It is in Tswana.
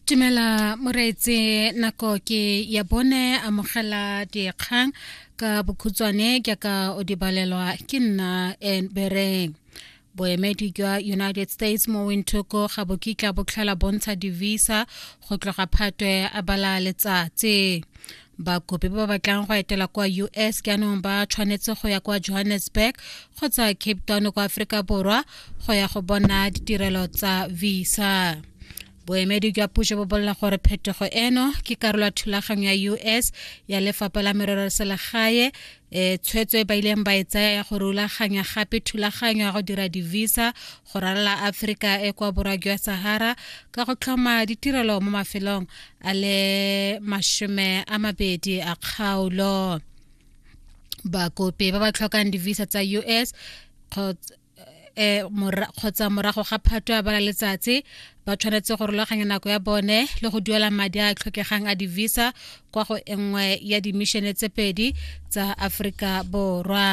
Tumela moreetsi nako ke ya bone amogela dikgang ka bokhutshwane jaaka o di balelwa ke nna en bereng. Boemedi jwa United States mo Windhoek ga bo kitla bo tlhola bontsha di-visa go tloga Phatwe a bala letsatsi. Bakopi ba ba batlang go etela kwa US jaanong ba tshwanetse go ya kwa Johannesburg kgotsa Cape Town kwa Aforika Borwa go ya go bona ditirelo tsa visa. Boemedi jwa puso bo bolela gore phetogo eno ke karolo ya thulaganyo ya US ya lefapha la merero ya selegae e tshwetso e ba ileng ba e tsaya ya go rulaganya gape thulaganyo ya go dira di-visa go ralala Aforika e kwa borwa jwa Sahara ka go tlhoma ditirelo mo mafelong a le 20 a kgaolo. Bakopi ba ba tlhokang di-visa tsa US kgotsa eh, kgotsa morago ga phato ya bala letsatsi ba tshwanetse go rulaganya nako ya bone le go duela madi a a tlhokegang a di-visa kwa go e nngwe ya dimišene tse pedi tsa Aforika Borwa.